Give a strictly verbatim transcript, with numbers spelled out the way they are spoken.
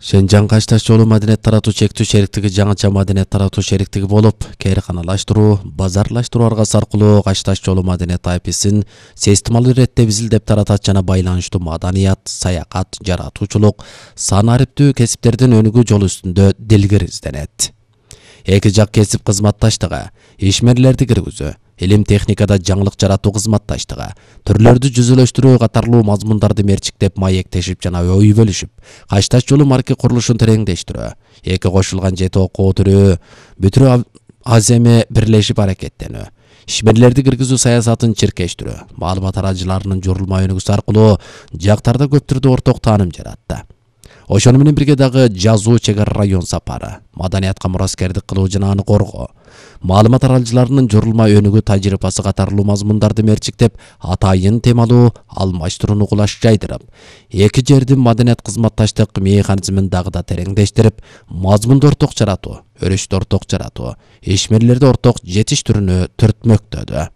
Шенжан Кашташ жолу маданият таратуу чектүү шериктиги жаңыча маданият таратуу шериктиги болуп, кээрканалаштыруу, базарлаштыруу аргасы аркылуу Кашташ жолу маданият айписин системалуу иретте бизилдеп таратат жана байланыштуу маданият, саякат, жаратуучулук, сан ариптүү кесиптердин өнүгүү жолу үстүндө дилгир изденет. Эки жак кесип кызматташтыгы, ишмерлерди киргизүү, илим техникада жаңылык жаратуу кызматташтыгы, түрлөрдү жүзөлөштүрүү катарлуу мазмундарды мерчиктеп маектешип жана ой бөлүшүп, Кашташ жолу марки курулушун тереңдештирүү, эки кошулган жети окуу түрү бүтүрүү аземе бирлешип аракеттенүү, ишмерлерди киргизүү саясатын чиркештирүү, маалымат аралжыларынын журулма өнүгүүсү аркылуу жактарда көп түрдүү орток тааным жаратты. Ошону менен бирге дагы жазуу чек ара район сапары, маданиятка мураскердик кылуу жана аны коргоо, маалымат аралжыларынын журулма өнүгүү тажрыйбасы катарлуу мазмундарды мерчиктеп, атайын темалуу алмаштырууну кулаш жайдырып, эки жердин маданият кызматташтык механизмин дагы да тереңдештирип, мазмунду орток жаратуу, өрүштү орток жаратуу, ишмерлерди орток жетиш түрүнө түртмөктөдү.